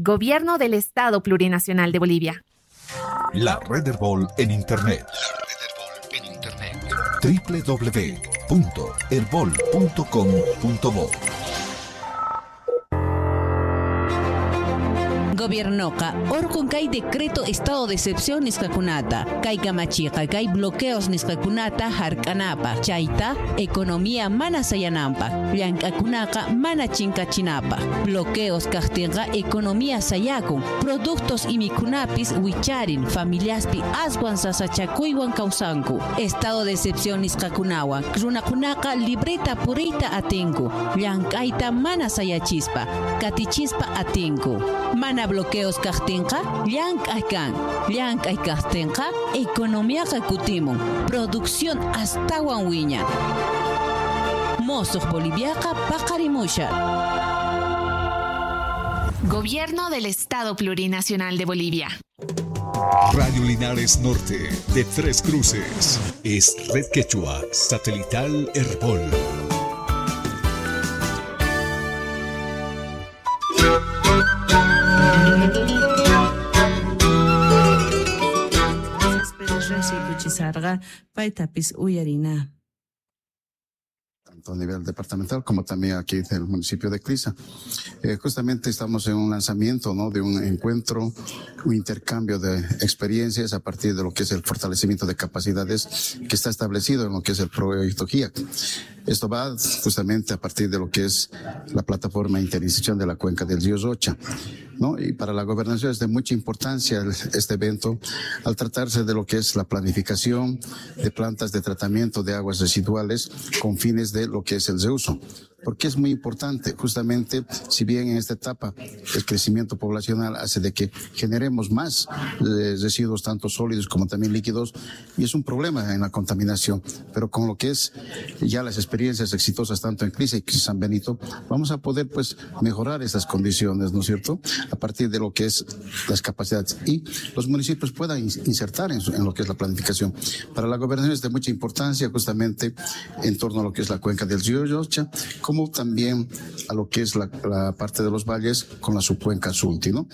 Gobierno del Estado Plurinacional de Bolivia. La Red Herbol en Internet. www.herbol.com.bo. Gobiernoqa orqun kay decreto estado de excepción nisqakunata, kay kamachiqa kay bloqueos nisqakunata hark'anapaq, chayta economía mana sayananpaq, llank'akunaqa mana chinkachinapaq. Bloqueos kaqtinqa economía sayakun, productos imikunapis wicharin, familiaspi aswan sasachakuywan kawsanku. Estado de excepción nisqakunawan, runakunaqa libreta puriyta atinku, llank'ayta mana sayachispa, katichispa atinku. Mana bloqueos kaqtinqa llank'ay kan, llank'ay kaqtinqa economiaqa kutimun, producción astawan wiñan. Mosuq Boliviaqa paqarimushan. Gobierno del Estado Plurinacional de Bolivia. Radio Linares Norte de Tres Cruces es Red Quechua Satelital Herbol. Paytapis uyarina. Tanto a nivel departamental como también aquí del municipio de Cliza. Justamente estamos en un lanzamiento, ¿no?, de un encuentro, un intercambio de experiencias a partir de lo que es el fortalecimiento de capacidades que está establecido en lo que es el proyecto GIAC. Esto va justamente a partir de lo que es la plataforma interinstitucional de la cuenca del río Rocha, ¿no? Y para la gobernación es de mucha importancia este evento al tratarse de lo que es la planificación de plantas de tratamiento de aguas residuales con fines de lo que es el reuso. Porque es muy importante, justamente, si bien en esta etapa el crecimiento poblacional hace de que generemos más residuos, tanto sólidos como también líquidos, y es un problema en la contaminación, pero con lo que es ya las experiencias exitosas tanto en Cliza y San Benito, vamos a poder, pues, mejorar esas condiciones, ¿no es cierto?, a partir de lo que es las capacidades y los municipios puedan insertar en lo que es la planificación. Para la gobernación es de mucha importancia justamente en torno a lo que es la cuenca del río Rocha, como también a lo que es la parte de los valles con la subcuenca Sulti, ¿no?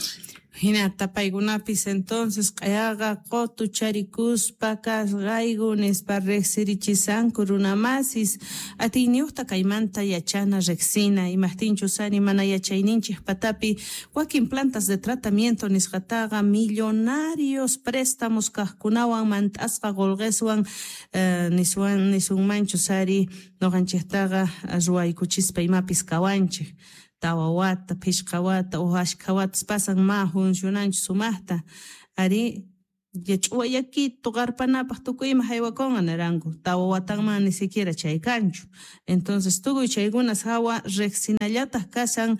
Hina tapaykunapis entonces q'ayaqa qotu charikuspa kasqayku nispa riqsirichisanku runamasis atiyniyuqta kaymanta yachana riqsina imajtinchus ari mana yachayninchik patapi wakin plantas de tratamiento nisqataqa millonarios préstamos kaqkunawan mant'asqa qolqeswan niswan nisunmanchus ari noqanchiktaqa ruwaykuchispa imapis kawanchik. Tawa wata, phishqa wata, uj ashkha watas pasan ma funcionanchu sumaqta. Ari, yach'uwayakito qarpanapaq tukuy ima haywakunqa niranku. Tawa watanman ni siquiera chay kanchu. Entonces tukuy chaykunas hawa riqsinallataq kashan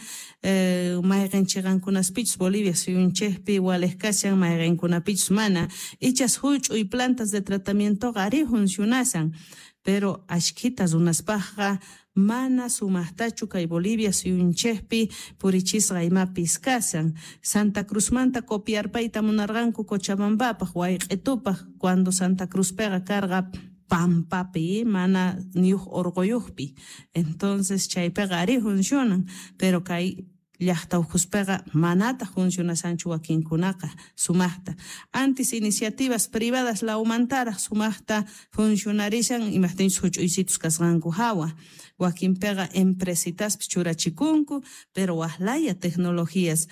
mayqin chiqankunaspichus Bolivia suyunchikpi waliq kashan mayqinkunapichus mana. Ichas huch'uy plantas de tratamientoqa ari funcionasan. Pero ashkhita runaspaqqa mana sumaqtachu kay Bolivia suyunchikpi purichisqa imapis kasan. Santa Cruzmanta copiarpayta munarqanku Cochabambapaq, Wayq'itupaq, cuando Santa Cruzpiqa karqa pampapi, mana niyuq orquyuqpi. Entonces chaypiqa ari funcionan, pero kay llaqta ukhuspiqa manataq funcionasanchu wakinkunaqa sumaqta. Antes iniciativas privadas la aumentaraq sumaqta funcionarishan imajtinchus huch'uysitus kasqanku hawa. Wakinpiqa empresitaspis churachikunku, pero waqlaya tecnologías.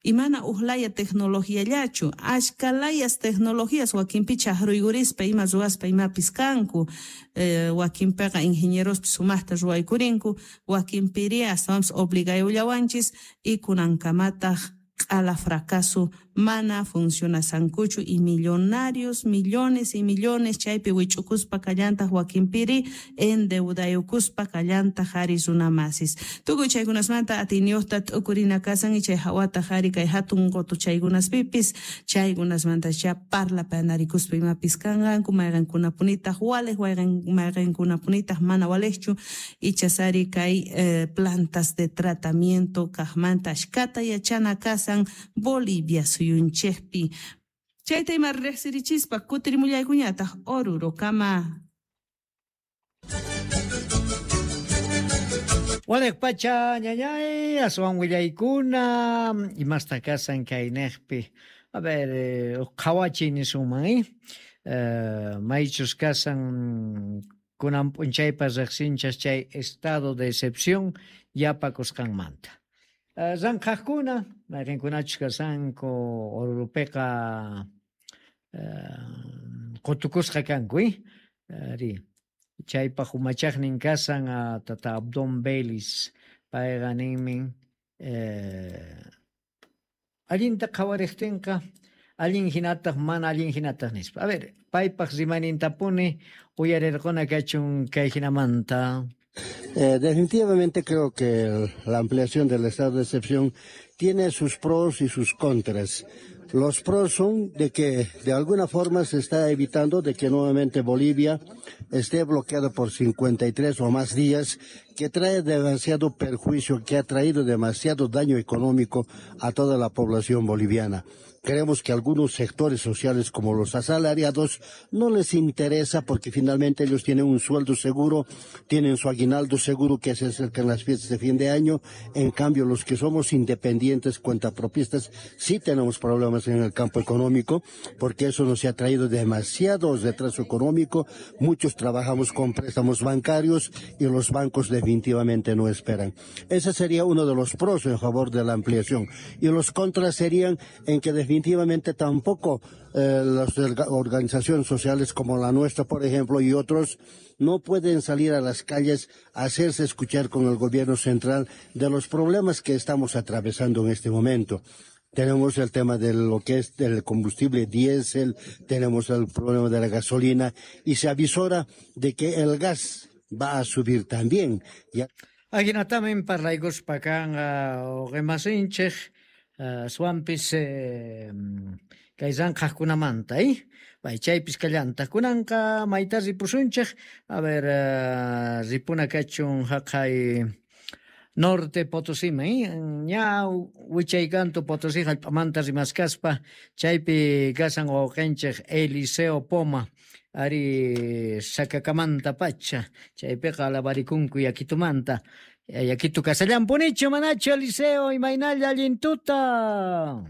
Y mana uqlaya tecnologiallachu, ashka layas tecnologías wakinpi chaqruykurispa ima ruwaspa imapis kanku. Wakinpiqa ingenierospis sumaqta ruwaykurinku, wakinpiri astawanpis obligayullawanchis y kunankamataq q'ala fracaso mana funcionasankuchu y millonarios, millones y millones chaypi wich'ukuspa kallantaq wakinpiri endeudayukuspa kallantaq ari runamasis. Tukuy chaykunasmanta atiyniyuqta t'ukurina kasan y chay hawataq ari kay hatun qotu chaykunaspipis chaykunasmanta cha parlapanarikuspa imapis kanqanku mayqankunapunitaq waliq mayqankunapunitaq mana waliqchu ichas ari kay plantas de tratamiento kaqmanta ashkata yachana kasan Bolivia suyunchikpi. Chayta ima riqsirichispa kutirimullaykuñataq Oruro kama. Waliq pacha ñañay, aswan willaykuna, imasta kasan kaynejpi. A ver, qhawachiy nisunman, eh? Maychus kasan kunan p'unchaypa riqsinchas chay estado de excepción yapakusqanmanta. Ranqhaqkuna, mayqinkunachus kasanku Orurupiqa qutukusqa kanku, eh? Ari, chaypaq umachaqnin kasan tata Abdón Vélez, payqa ninmin allinta qhawariqtinqa allin hinataq mana allin hinataq nispa. A ver, paypaq rimaynintapuni uyarirquna kachun kay hinamanta. Definitivamente creo que la ampliación del estado de excepción tiene sus pros y sus contras. Los pros son de que de alguna forma se está evitando de que nuevamente Bolivia esté bloqueada por 53 o más días, que trae demasiado perjuicio, que ha traído demasiado daño económico a toda la población boliviana. Creemos que algunos sectores sociales como los asalariados no les interesa porque finalmente ellos tienen un sueldo seguro, tienen su aguinaldo seguro que se acerca en las fiestas de fin de año. En cambio, los que somos independientes, cuentapropistas, sí tenemos problemas en el campo económico porque eso nos ha traído demasiado retraso económico. Muchos trabajamos con préstamos bancarios y los bancos definitivamente no esperan. Ese sería uno de los pros en favor de la ampliación. Y los contras serían en que definitivamente tampoco las organizaciones sociales como la nuestra, por ejemplo, y otros, no pueden salir a las calles a hacerse escuchar con el gobierno central de los problemas que estamos atravesando en este momento. Tenemos el tema de lo que es el combustible diésel, tenemos el problema de la gasolina y se avisora de que el gas va a subir también. Ya. Ajinatamin parlaykuspa kanqa uqimasinchik aswanpis kay ranqhaqkunamanta, Bay chaypis kallantaq. Kunanqa mayta ripusunchik, a ver, ripuna kachun haqay Norte Potosíman, ña wichay kantu Potosí hallp'amanta rimaskaspa, chaypi kasan wawqinchik Eliseo Poma, ari Sacakamanta pacha, chaypiqa alabarikunku yakitumanta. Yakitu kasallanpunichu manachu Eliseo, imaynalla allin tuta.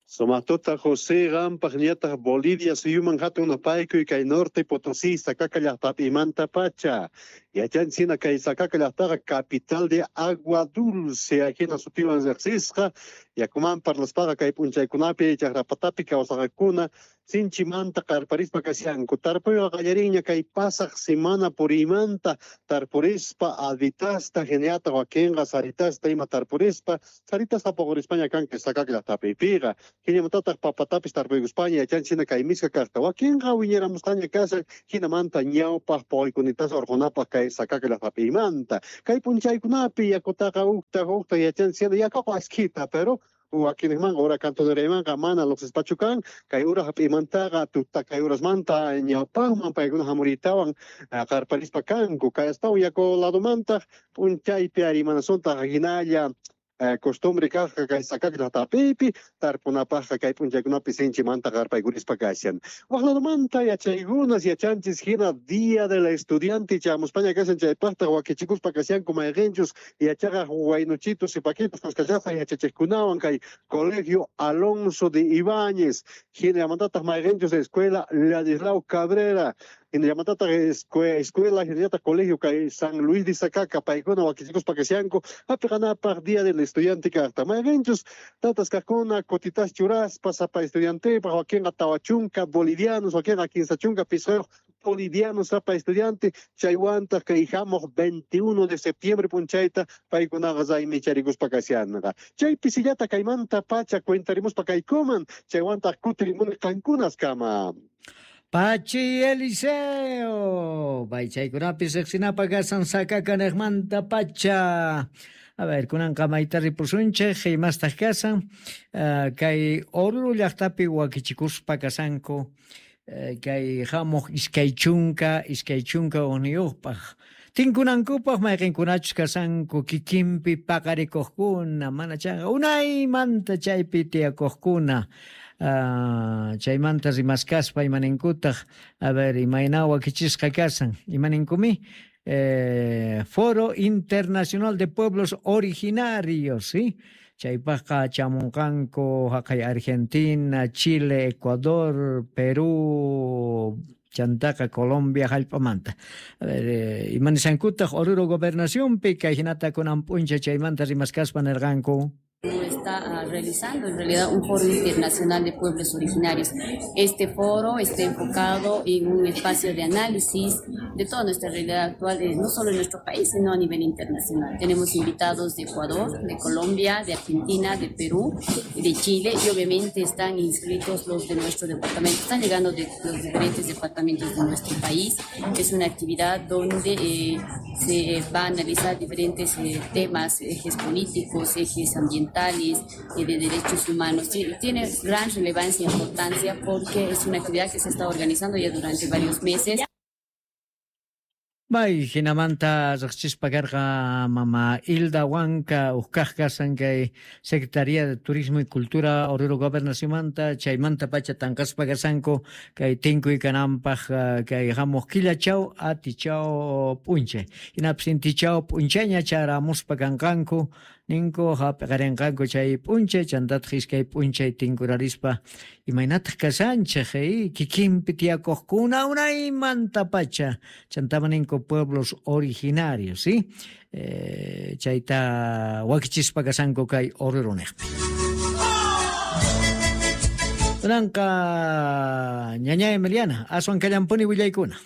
Sumaq José qampaq ñataq Bolivia suyuman hatun napaykuy kay Norte Potosí Sacaca llaqtapimanta pacha. Yachanchina kay Sacaca llaqtaqa capital de agua dulce ajina sutiwan riqsisqa yakuman parlaspaqa kay p'unchaykunapi chakrapatapi kawsaqakuna sinchimanta qarparispa kashanku. Tarpuyqa qallarinña kay pasaq semana puriymanta tarpurispa albitasta hinallataq wakinqa saritasta ima tarpurispa saritasta puqurispaña kanka Sacaca llaqtapipiqa. Hinamantataq papatapis tarpuykuspaña yachanchina kay miska kaqta. Wakinqa wiñaramusqaña kashan hinamanta ñawpaq puquykunitasa urqunapaq kay Sacaca llaqtapimanta. Kay p'unchaykunapi yakutaqa uqta uqta yachanchina yakuqa askhita, pero wakinman ura cantoneraymanqa mana lluqsispachu kan kay ura hap'imantaqa tuta kay urasmanta ñawpaqman paykuna hamuritawan qarparispa kanku. Kay astawan yaku ladomantaq p'unchaypi arimanasuntaj hinalla costumbre kaqqa kay Sacaca llaqtapipi tarpunapaqqa kay p'unchaykunapi sinchimanta qarpaykurispa kashan. Waq ladomanta yachaykunas yachanchis hina Día del Estudiante chamuspaña kashan chaypaqtaq wakichikuspa kashanku mayqinchus yachaqaq waynuchitos y paquitos kuskachasqa yachachiqkunawan kay Colegio Alonso de Ibáñez hinallamantataq mayqinchus Escuela Ladislao Cabrera hinallamantataq escuela hinallataq colegio kay San Luis de Sacaca paykuna wakichikuspa kashanku hapiqanapaq Día del Estudiante kaqta. Mayqinchus tatas kaqkuna kutitas churaspa sapa estudiantepaq wakinqa tawa chunka bolivianos wakinqa kinsa chunka pisqayuq bolivianos sapa estudiante chaywantaq kay hamuq 21 de septiembre p'unchayta paykunaqa raymichariykuspa kashanqa. Chay pisillata kaymanta pacha cuentarimuspa kaykuman chaywantaq kutirimuni qankunaskama. Pachi Eliseo, bay chaykunapis riqsinapaq kasan Sacaca niqmanta pacha. A ver, kunanqa mayta ripusunchik imastaq kasan kay Oruro llaqtapi wakichikuspa kasanku kay hamuq iskay chunka uqniyuqpaq. Tinkunankupaq mayqinkunachus kasanku kikinpi paqarikuqkuna, mana chayqa unaymanta chaypi tiyakuqkuna. Chaymanta rimaskaspa imaninkutaq, a ver, imayna wakichisqa kasan, imaninkumi? Foro Internacional de Pueblos Originarios, ¿sí? Chaypaqqa chamunqanku haqay Argentina, Chile, Ecuador, Perú, chantaqa Colombia hallp'amanta. A ver, imanisankutaq Oruro gobernacionpi kay hinata kunan p'unchay chaymanta rimaskaspa nirqanku. Está realizando en realidad un foro internacional de pueblos originarios. Este foro está enfocado en un espacio de análisis de toda nuestra realidad actual, no solo en nuestro país, sino a nivel internacional. Tenemos invitados de Ecuador, de Colombia, de Argentina, de Perú, de Chile y obviamente están inscritos los de nuestro departamento. Están llegando de los diferentes departamentos de nuestro país. Es una actividad donde se va a analizar diferentes temas, ejes políticos, ejes ambientales, de derechos humanos. Tiene gran relevancia e importancia porque es una actividad que se está organizando ya durante varios meses. Bay, hinamanta riqsispa karqa mama Hilda Huanca uqkaq kasan kay Secretaría de Turismo y Cultura Oruro Gobernacionmanta chaymanta pacha tanqaspa kasanku kay tinkuy kananpaq kay hamuq killachaw atichaw p'unchay hinapis intichaw p'unchayña charamuspa kanqanku ninku hap'iqarinqanku chay p'unchay chantataq iskay p'unchay tinkurarispa imaynataq kashanchik kikinpi tiyakuqkuna unaymanta pacha chantama ninku pueblos originarios, ¿sí? Chayta wakichispa kasanku kay Oruro niqpi. Kunanqa ñaña Emiliana aswan kallampuni willaykuna.